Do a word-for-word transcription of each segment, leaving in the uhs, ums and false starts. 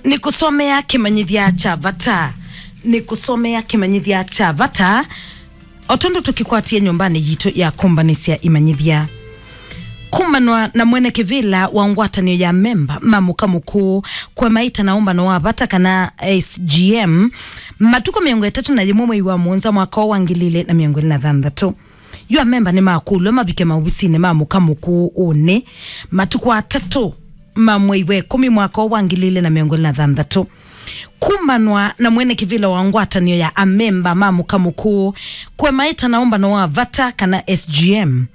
Nĩkũsomea kĩmanyĩthya kya vata. Nĩkũsomea kĩmanyĩthya kya vata, o tondũ tũkĩkwatie nyũmbanĩ yitũ ya kũmbanĩsya imanyĩthya. Kumbanwa na mwene kĩvĩla wa ngwatanĩo ya memba ma mũka mũkũũ, kũemaĩta na ũmbano wa vata kana S G M, matukũ mĩongo ĩtatũ na yĩmwe mwei wa mũonza mwaka wa ngili ilĩ na mĩongo ĩlĩ na thanthatũ. Yu amemba nĩmakũlw'a mavike maovisinĩ ma mũka mũkũũ ũnĩ matukũ atatũ ma mwei wa ĩkũmi mwaka wa ngili ilĩ na mĩongo ĩlĩ na thanthatũ. Kumbanwa na mwene kĩvĩla wa ngwatanĩo ya amemba ma mũka mũkũũ, kũemaĩta na ũmbano wa vata kana S G M,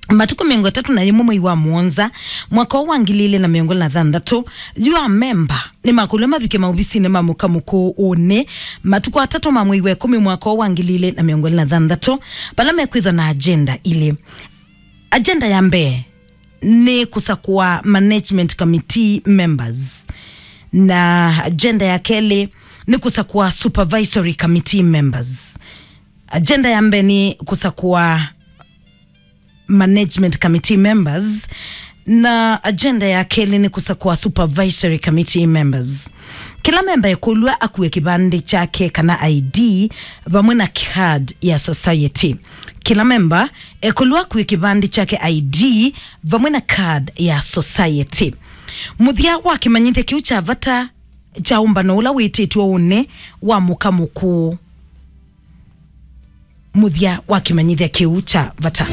matukũ mĩongo ĩtatũ na yĩmwe mwei wa mũonza mwaka wa ngili ilĩ na mĩongo ĩlĩ na thanthatũ, yu amemba nĩmakũlw'a mavike maovisinĩ ma mũka mũkũũ ũnĩ matukũ atatũ ma mwei wa ĩkũmi mwaka wa ngili ilĩ na mĩongo ĩlĩ na thanthatũ, vala mekwĩthwa na agenda ilĩ. Agenda ya mbee nĩ kũsakũa management committee members, na agenda ya kelĩ nĩ kũsakũa supervisory committee members. Agenda ya mbee nĩ kũsakũa management committee members, na agenda ya kelĩ nĩ kũsakũa supervisory committee members. Kĩla memba ekũlw'a akue kĩvandĩ kyake kana I D vamwe na card ya society. Kĩla memba ekũlw'a akue kĩvandĩ kyake, I D vamwe na card ya society. Mũthya wa kĩmanyĩthya kĩu kya vata kya ũmbano ũla wĩtĩtwe ũnĩ wa mũka mũkũũ. Mũthya wa kĩmanyĩthya kĩu kya vata.